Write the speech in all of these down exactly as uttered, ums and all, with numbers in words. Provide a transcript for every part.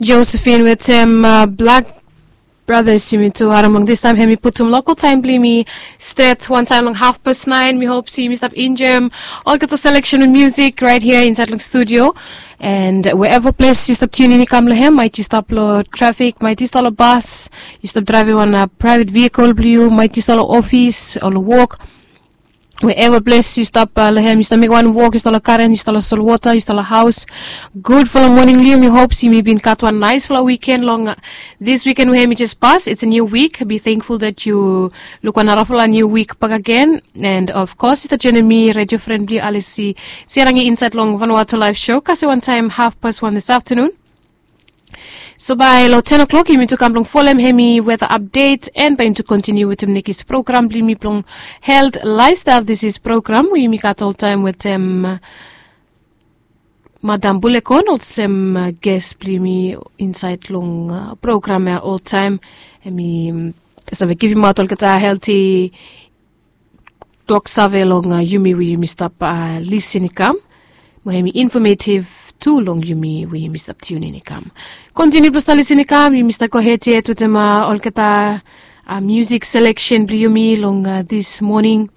Josephine wetem Black Brothers, yumi tu harim long distaem. Hemi putum lokal taem blong yumi stret wantaem long hafpas naen. Mi hop se yumi stap enjoem olgeta seleksen blong musik raet hia insaed long studio. And wherever ples yu stap tiun in i kam long hem, maet yu stap long trafik, maet yu stap long bas, yu stap draevem wan praevet vehikel blong yu, maet yu stap long ofis o long wok, wherever ples yu stap long hem, yu stap mekem wan wok, yu stap long garen, yu stap long solwota, yu stap long haos. Gudfala moning long yu. Mi hop se yumi bin gat wan naesfala wiken long this wiken we hemi jes pas. It's a new week. Be thankful that yu luk wan narafala new week bakegen. And of course yu stap joenem mi, redio fren blong yu, Alisi Siarangi, insaed long Vanuatu Live Show kasem wantaem hafpas wan this afternoon. So bae long ten o'clock yumi tu kam blong folem hemi weather update, and bae yumi tu kontiniu wetem nekis program blong yumi blong Health Lifestyle Disease program we yumi gat oltaem wetem Madam Bulekon olsem ges blong yumi insaed long program ya oltaem. Hemi save givimaot olgeta helti tok save long yumi we yumi stap lisin i kam, mo hemi infometief tu long yumi we yumi stap tiun in i kam. Kontiniu blong stap lisin i kam, yumi stap gohed yet wetem olgeta musik seleksen blong yumi long this moning.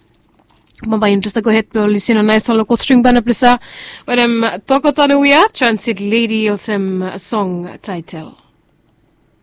Bambae yumi tu stap gohed blong lisin long naesfala lokol string band blong yu wetem Toko Tanu Wia, Transit Lady olsem song taetel.